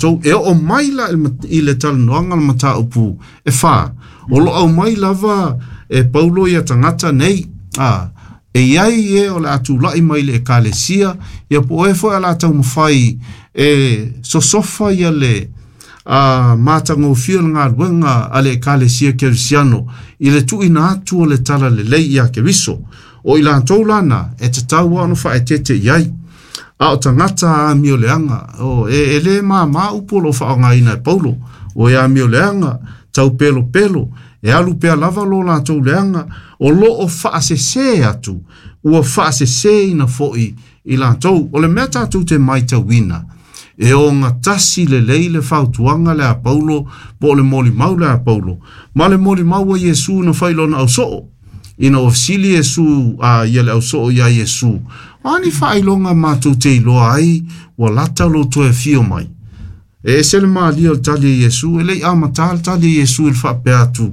Tou e oo mai la i le talanoaga o le mataupu e fa, o lo o aumai lava e Paulo ia tagata nei, a, e i ai e o le a tulai mai i le Ekalesia, ia po o e foi o le a taumafai e sosofa ia le a, matagofie o le galuega a le Ekalesia Kerisiano i le tuuina atu o le Talalelei ia Keriso. O i latou la na, e tatau lava ona faaeteete i ai. A o tagata amioleaga, o, e, e le māmā upu o lo o faaaogaina e Paulo, o e amioleaga, taupelopelo, e alu pea lava lo latou leaga, o lo o faasese atu, ua faaseseina foi i latou. O le mea tatou te matauina, e ogatasi lelei le fautuaga lea a Paulo po o le molimau lea a Paulo, ma le molimau a Iesu na fai i lona ausoo. Ina ua fesili Iesu a ia le ausoo iā Iesu, O a ni faailoga matou te iloa ai ua lata lou toe afio mai? E ese le malie o le tali a Iesu, e le i amata le tali a Iesu i le faapea atu,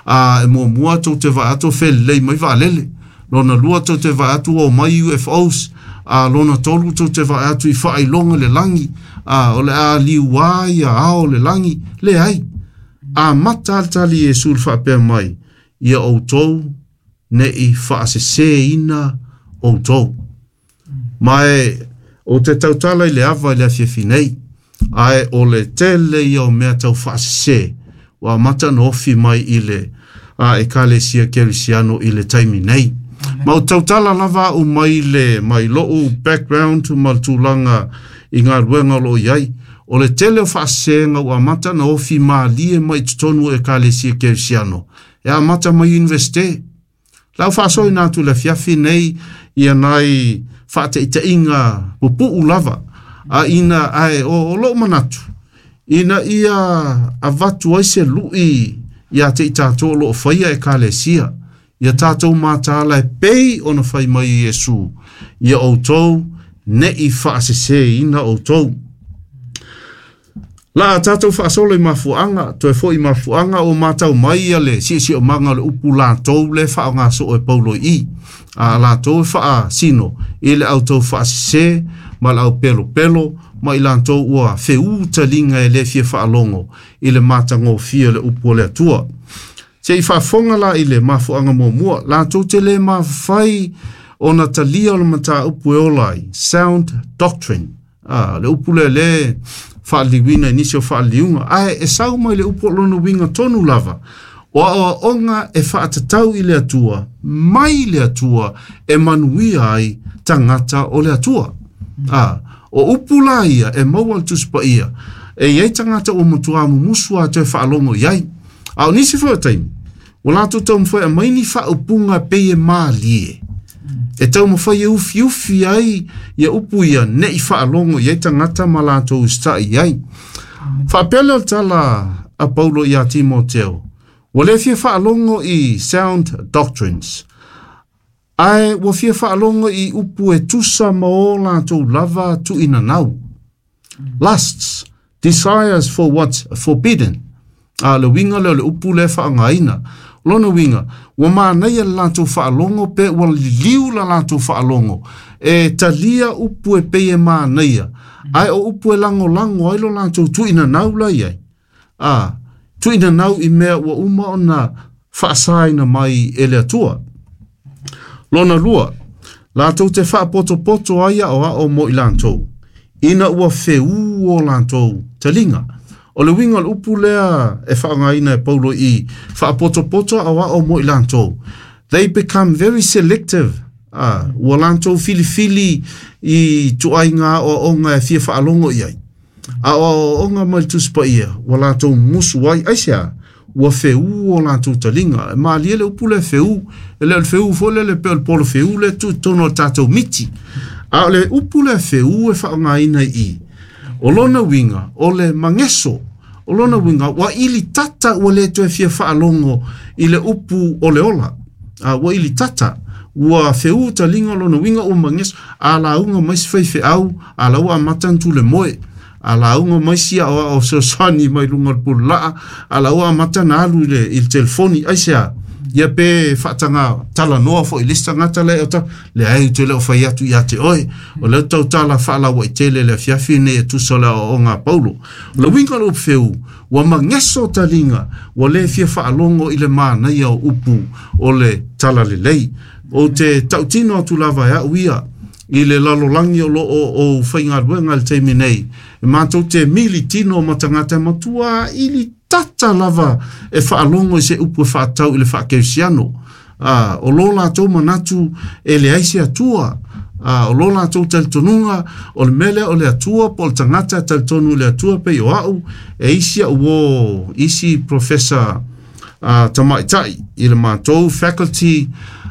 a e muamua tou te vaai atu o felelei mai vaalele, lona lua tou te vaai atu ua omai UFOs, a lona tolu tou te vaai atu i faailoga i le lagi, a o le a liuā ia ao o le lagi. Leai. Amata le tali a Iesu i le faapea mai, ia outou ne i faaseseina outou. Ma e ou te tautala i le ava i le afiafi nei, ae o le tele ia o mea tau faasese ua amata ona ofi mai i le a Ekalesia Kerisiano i le taimi nei. Ma ou tautala lava au mai le mai lou background ma le tulaga i galuega o lo o i ai. O le tele o faasesega ua amata ona ofi malie mai i totonu o Ekalesia Kerisiano e amata mai Universite. La u faasoaina atu i le afiafi nei ia nai faataitaiga pupuu lava a ina ae o, o lou manatu ina ia avatu ai se lui ia te i tatou o lo o faia Ekalesia, ia tatou mataala e pei ona fai mai e Iesu, ia outou ne i faaseseina outou. La a tatou faasolo i mafuaaga, toe foi i mafuaaga ua matau mai ia le siosiomaga o le upu latou lea e faaaoga soo e Paulo i i. A latou e faasino i le au tau faasese ma le au pelopelo ma i latou ua feū taliga e le fia faalogo i le matagofie o le upu a le Atua. Se i faafofoga la i le mafuaaga muamua, latou te le mafai ona talia o le mataupu e ola ai, sound doctrine. A, le upu lea lea e faaliliuina i nisi o faaliliuga, ae e sau mai le upu o lona uiga tonu lava, o aoaoga e faatatau i le Atua, mai le Atua e manuia ai tagata o le Atua. A, o upu la ia e maua i le Tusi Paia, e i ai tagata ua matua mumusu lava toe faalogo i ai. A o nisi foi o taimi, Ua latou taumafai e aumai ni faaupuga e pei e malie, e taumafai e ufiufi ai ia upu ia ne i faalogo i ai tagata ma latou usitai i ai. Faapea lea o le tala a Paulo iā Timoteo, ua le fia faalogo i sound doctrines, ae ua fia faalogo i upu e tusa ma o latou lava tuuinanau. Lusts, desires for what's forbidden. A le uiga lea o le upu lea e faaaogaina. O lona uiga, ua manaia le latou faalogo pe ua liliu la latou faalogo e talia upu e pei e manaia, ae o upu e lagolago ai lo latou tuuinanau la i ai. A, tuuinanau i mea ua uma ona faasaina mai e le Atua. Lona lua, latou te faapotopoto ai aoao mo i latou, ina ua feū o latou taliga. O le uiga o le upu lea e faaaogaina e Paulo i faapotopoto aoao mo i latou, they become very selective. A, ua latou filifili i ituaiga aoaoga e fia faalogo i ai. A o aoaoga mai le Tusi Paia, ua latou musu ai, aisea? Ua feū o latou taliga. E malie le upu lea feū, e le o le feū foi lele pei o le polo feū lea e tuu i totonu o le tatou miti. A o le upu lea feū e faaaogaina i i, o lona uiga, o le mageso. O lona uiga, ua ilitata ua le toe fia faalogo i le upu o le ola. A ua ilitata, ua feū taliga, o lona uiga ua mageso. A lauga mai se faifeau, a la ua amata ona tule moe. A lauga mai si aoao fesoasoani mai luga o le pululaa, a la ua amata ona alu i le, i le telefoni. Aisea? Ia pe faataga talanoa foi i le isi tagata lea e o leai ou te le o fai atu ia te oe. O lea ou tautala faalauaitele i le afiafi lenei e tusa o le aoaoga a Paulo. O le uiga o le upu feū, ua mageso taliga, ua le fia faalogo i le manaia o upu o le talalelei. Ou te tautino atu lava e au ia i le lalolagi o lo o ou faigaluega i le taimi nei, e matou te mili tino ma tagata e matua ili tata lava e faalogo i se upu e faatatau i le faakerisiano. A, o lo latou manatu e leai se Atua. A, o lo latou talitonuga, o le mea lea o le Atua po o le tagata e talitonu i le Atua pei o au, e isi au uō, isi professor a, tamaitai i le matou faculty,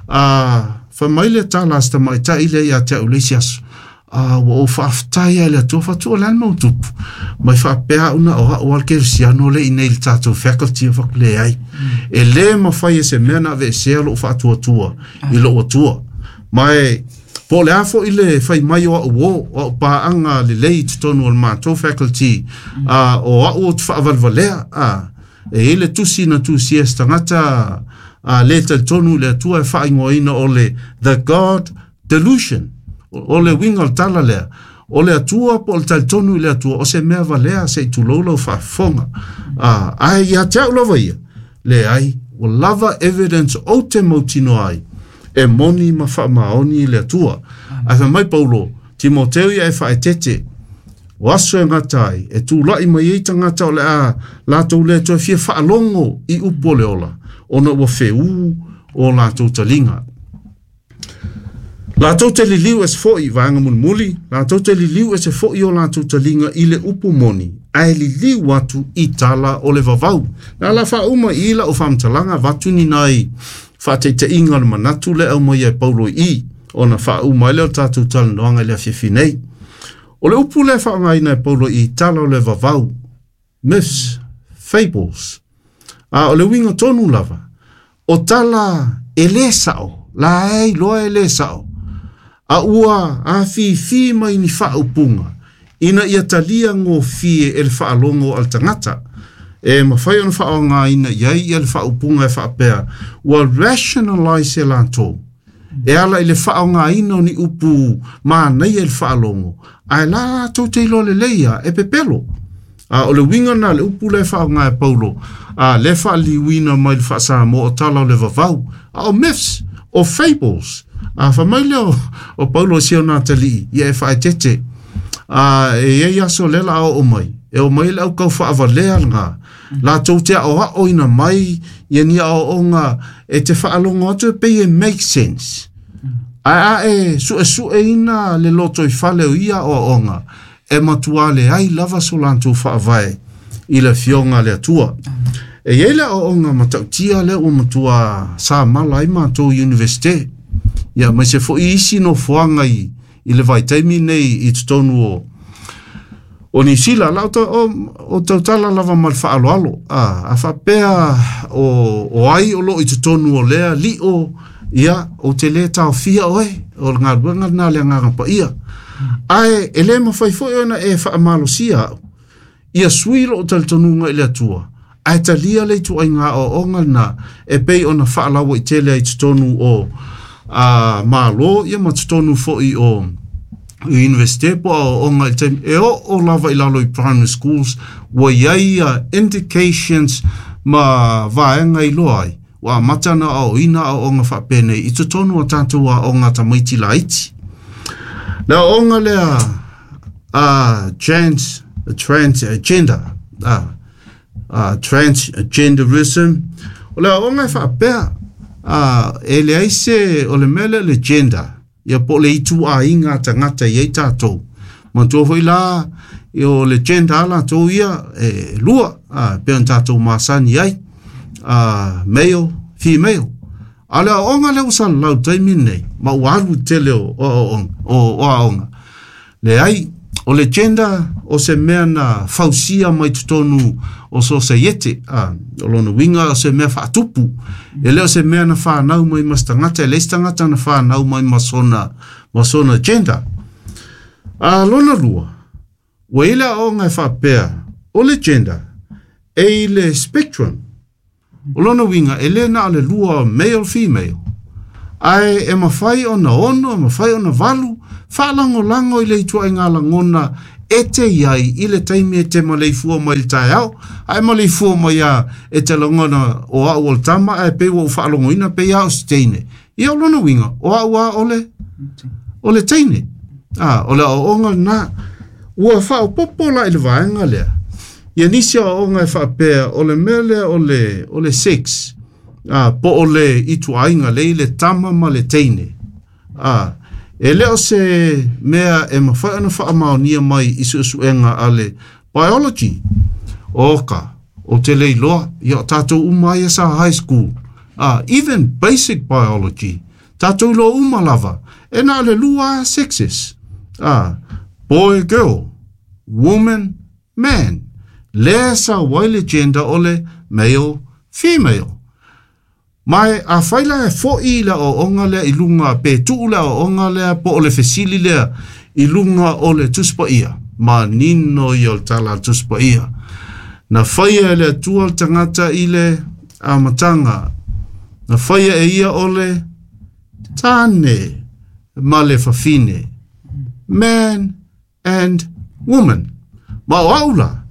a, fai mai le tala a si tamaitai lea ia te au i le isi aso, A ua ou faafetai lava i le Atua, fai atu, o le a le mea ua tupu? Mai faapea au na o au lava le kerisiano lea i inei i le tatou faculty, ou fai atu, leai. E le mafai e se mea ona aveesea lou faatuatua i lou Atua. Ma e, po o le a foi le fai mai o au uō, o au paaga lelei i totonu o le matou faculty, a, o au ou te faavalevalea, a, e i ai le tusi na tusia e se tagata a, le talitonu i le Atua e faaigoaina o le The God Delusion. O le uiga o le tala lea, o le Atua po o le talitonu i le Atua, o se mea valea se i tulou lau faafofoga. Ae ia te au lava ia, leai, ua lava evidence ou te mautinoa ai, e moni ma faamaoni le Atua. Ae fai mai Paulo, Timoteo ia e faaeteete, o aso e gata ai, e tulai mai ai tagata o le a latou le toe fia faalogo i upu o le ola, ona ua feū o latou taliga. Latou te liliu ese foi, vaega mulimuli, latou te liliu ese foi o latou taliga i le upu moni, ae liliu atu i tala o le vavau. Na ala faauma i i lau faamatalaga avatu ni nai faataitaiga o le manatu lea e aumaia e Paulo i i, ona faauma ai lea o le tatou talanoaga i le afiafi nei. O le upu lea e faaaogaina e Paulo i i tala o le vavau, myths, fables, a o le uiga tonu lava, O tala e lē sa'o, la e iloa e lē sa'o, a ua afifi mai ni faaupuga ina ia talia gofie e le faalogo a le tagata. E mafai ona faaaogaina i ai ia le faaupuga e faapea, ua rationalise e latou e ala i le faaaogaina o ni upu manaia i le faalogo, ae la latou te iloa lelei lava e pepelo. A o le uiga lena o le upu lea e faaaoga e Paulo, a lea e faaliliuina mai le faa-Samoa o tala o le vavau, a o myths, o fables. A fai mai lea o, o Paulo i si ona atalii, ia e faaeteete. A e i ai aso lea la a oo mai, e o mai le au kau faavalea lena, latou te aoaoina mai ia ni aoaoga e te faalogo atu e pei e make sense. Ae a e suesueina le lotoifale o ia aoaoga, e matua leai lava so latou faavae i le Afioga a le Atua. E i ai le aoaoga matautia lea ua matua samala ai matou i Universite, ia aemaise foi isi nofoaga i, i le vaitaimi nei i totonu o, o Niu Sila. La o, o, o tautala lava ma le faaaloalo, a, a faapea o, o ai o loo i totonu o lea lio, ia, ou te lē taofia oe, o le galuega lena a le Agaga Paia. Ae e lē mafai foi ona e faamalosia au, ia sui lou talitonuga i le Atua, ae talia le ituaiga aoaoga lena e pei ona faalauaitele ai i totonu o a, Malo ia ma totonu foi o Universite po o aoaoga i le taimi e oo lava i lalo i primary schools ua i ai ia indications ma vaega i iloa ai ua amata ona aoaoina aoaoga faapenei i totonu o tatou aoga tamaiti laiti. Le aoaoga lea a trans, transgender, a, a transgenderism, o le aoaoga e faapea, a, e leai se, o le mea lea o le gender, ia po o le ituaiga a tagata i ai tatou. Manatua foi la, o le gender a latou ia, e lua, a, pei ona tatou masani ai, a, male, female. A o le aoaoga lea ua salalau i le taimi lenei, ma ua alu i le tele o aoaoga, o aoga, leai, o le gender o se mea na fausia mai totonu o sosaiete, a, o lona uiga o se mea faatupu. E le o se mea na fanau mai ma se tagata, e leai se tagata na fanau mai ma sona, ma sona gender. A lona lua, ua i ai le aoaoga e faapea, o le gender e i le spectrum. O lona uiga e lē na o le lua male female, ae e mafai ona 6, e mafai ona 8, faalagolago i le ituaiga lagona e te iai i le taimi e te maleifua mai i le taeao, ae maleifua mai a e te lagona o au o le tama ae pei ua ou faalogoina pei a o se teine. Ia o lona uiga, o au a o le teine. O le aoaoga lena. Ua faaopopo la i le vaega lea. Ia nisi aoaoga e faapea o le mea lea o le sex, po o le ituaiga le i le tama ma le teine. E le o se mea e mafai ona faamaonia mai i suesuega a le biology. Oka, o te leiloa, ia o tātou uma ia sa high school. Even basic biology, tātou iloa uma lava, e na o le lua sexes. Boy, girl, woman, man. Lea sa wai le gender o le male, female. Mai a whaila e foi le o onga lea i lunga, pe tuu le o onga lea, po o le fesili lea i lunga o le tuspa ia. Ma nino i o le tala tuspa ia. Na whaia e le atua le tangata i le amatanga. Na whaia e ia o le tāne ma le fafine. Man and woman. Ma o aula,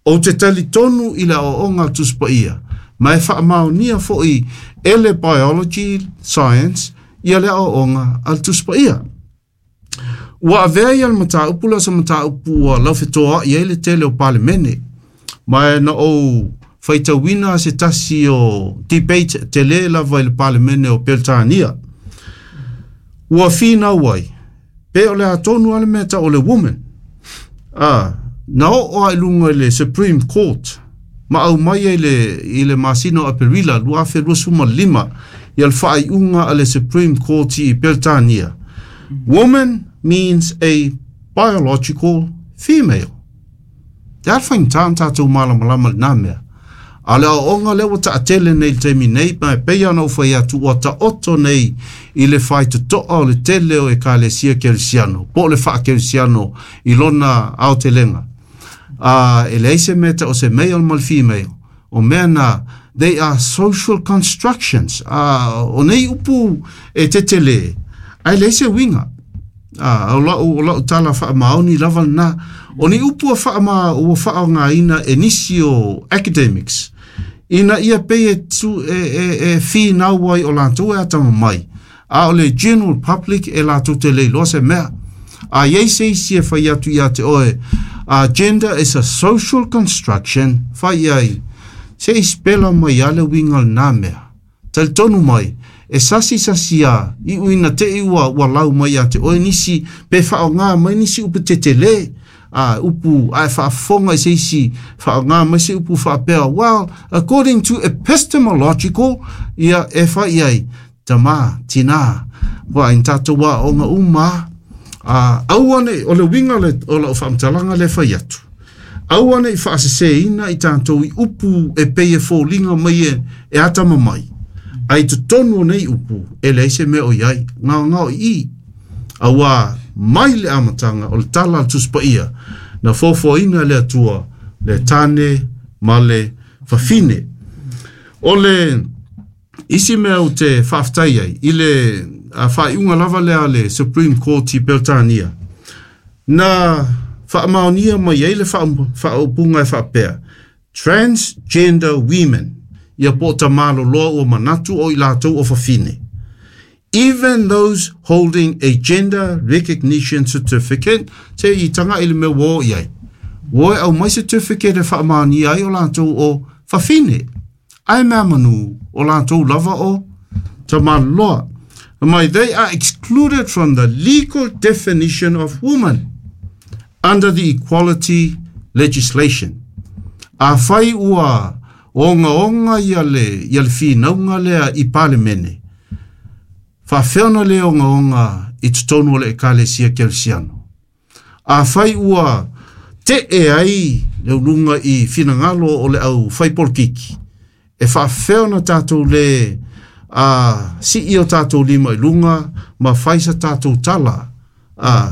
o te tali tonu i le o onga tuspa ia. Ma e whaamaonia foi e le biology science ia le aoaoga a le Tusi Paia. Ua avea ia le mataupu lea o se mataupu ua laufetoa'i ai le tele o Palemene. Ma e na ou faitauina se tasi o debate tele lava i le Palemene o Peretania. Ua finau ai, pe o le atonu a le mea ta'u o le woman. Na oo a i luga i le Supreme Court, ma au mai ai i le masina o Aperila 2025 ia le faaiuga a le Supreme Court i Peretania. Woman means a biological female. Te ala faigata ona tatou malamalama i lenā mea. A o le aoaoga lea ua taatele nei i le taimi nei, ma e pei ona ou fai atu ua taoto nei i le faitotoa o le tele o Ekalesia Kerisiano, po o le faakerisiano i lona aotelega. E leai se mea ta'u o se male ma le female. O mea na, they are social constructions. O nei upu e tetele, ae leai se uiga. O lau tala faamaoni lava lenā. O ni upu ua faaaogāina e nisi o academics, ina ia pei e, tu, e, e, e finau ai o latou e atamamai. A o le general public e latou te leiloa se mea. A iai se isi e fai atu ia te oe, gender is a social construction, fai ai, se i spela mai a le uiga lenā mea. Talitonu mai, e sasi sasi a, i uina te i ua lau mai ia te oe nisi, pe whaonga mai nisi upu tetele, upu a e whaafonga i se isi, whaonga mai se upu whaapea, well, according to epistemological, ia e whai ai, tama, tina, wa in tātou wa onga uma, aua nei, o le uiga o lau faamatalaga le fai atu. Aua nei faaseseina i tatou i upu e pei e foliga mai e atamamai. Ai totonu o nei upu, e leai se mea o iai, gaogao i. Auā mai le amataga o le tala a le Tusi Paia, na foafoaina e le Atua le tāne ma le fafine. O le isi mea ou te faafetai ai i le faaiuga lava lea a le Supreme Court i Peretania, na faamaonia mai ai le faaupuga e faapea, transgender women, ia po o tamaloloa ua manatu o i latou o fafine. Even those holding a gender recognition certificate, se i taga'i i le mea ua o i ai. Ua o e aumai certificate e faamaonia ai o latou o fafine. Ae mea manu o latou lava o tamaloloa. Mai, they are excluded from the legal definition of woman under the equality legislation. Afai ua ogaoga ia le finauga lea i Palemene, faafefea ona lē ogaoga i totonu o le Ekalesia Kerisiano. Afai ua te'e ai le uluga i finagalo o le au faipolokiki, e faafefea ona tatou lē sii o tatou lima i luga ma fai sa tatou tala,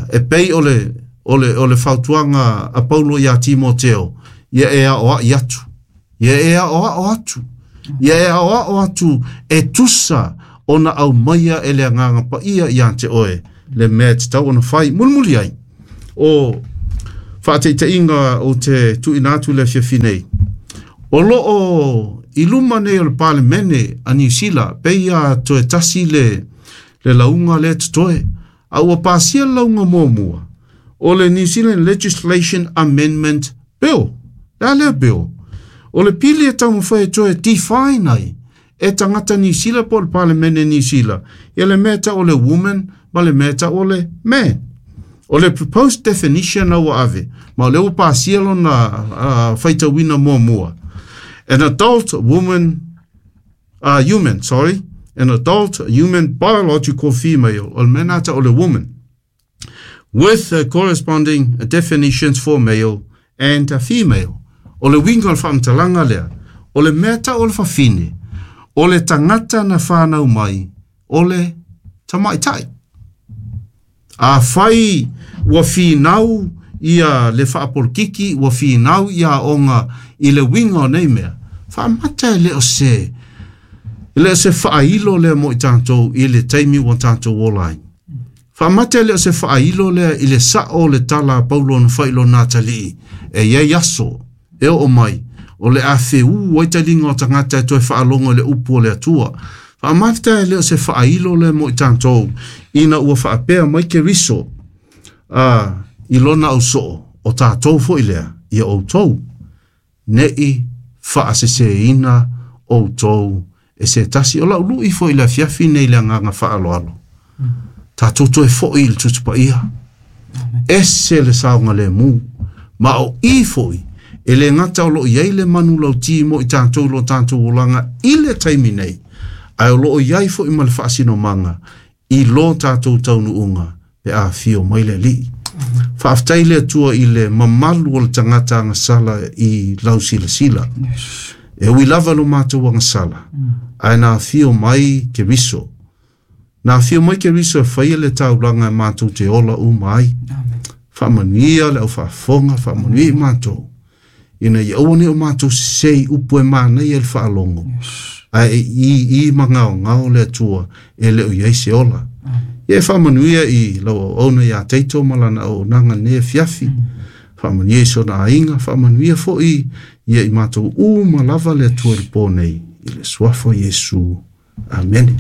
e pei o le fautuaga a Paulo iā Timoteo, ia e aoa'i atu. Ia e aoao atu. Ia e aoao atu e tusa ona aumaia e le agaga paia ia te oe le mea e tatau ona fai. Mulimuli ai o faataitaiga ou te tuuina atu i le afiafi nei, o loo i luma nei o le Palemene a Niu Sila, pei a toe tasi le lauga lea totoe, a ua pasia le lauga muamua o le New Zealand Legislation Amendment Bill. Le a lea bill? O le pili e taumafai e toe define ai e tagata Niu Sila po o le Palemene Niu Sila ia le mea tau o le woman ma le mea tau o le man. O le proposed definition na ua ave, ma o lea ua pasia lona faitauina muamua. An adult woman, human, sorry, an adult human biological female, o le mea na tau o le woman, with the corresponding definitions for male and female. O le uiga o le faamatalaga lea, o le mea tau o le fafine, o le tagata na whanau mai, o le tamaitai. A fai ua finau ia le faapolokiki, ua finau ia onga i le uiga o nei mea, faamata e le o se, e le o se faailo lea mo i tatou i le taimi ua tatou ola ai. Faamata e le o se faailo lea i le sao o le tala a Paulo na fai i lona atalii, e iai aso, e oo mai, o le a feū ai taliga o tagata e toe faalogo i le upu o le Atua. Faamata e le o se faailo lea mo i tatou, ina ua faapea mai Keriso, i lona ausoo, o tatou foi lea, ia outou, nei faaseseina outou e se tasi. O lau lui foi le afiafi nei le agaga faaaloalo. Tatou toe foi i le Tusi Paia. Ese le saogalemu. Ma o i foi, e le gata o loo iai le manulauti mo i tatou lo tatou olaga i le taimi nei, ae o loo iai foi ma le faasinomaga i lo tatou taunuuga pe afio mai le Alii. Faafetai le Atua i le mamalu o le tagata agasala i lau silasila. E ui lava lo matou agasala, ae na afio mai Keriso. Na afio mai Keriso e faia le taulaga e matou te ola uma ai. Faamanuia le aufaafofoga, faamanuia i matou, ina ia aua ne i o matou sese i upu e manaia i le faalogo, ae e i i ma gaogao le Atua e le o i ai se ola. Ia e faamanuia i lau auauna ia Taito ma lana auaunaga i lenei afiafi. Faamanuia i sona aiga, faamanuia foi ia i matou uma lava le Atua i le po nei, i le suafa o Iesu. Amene.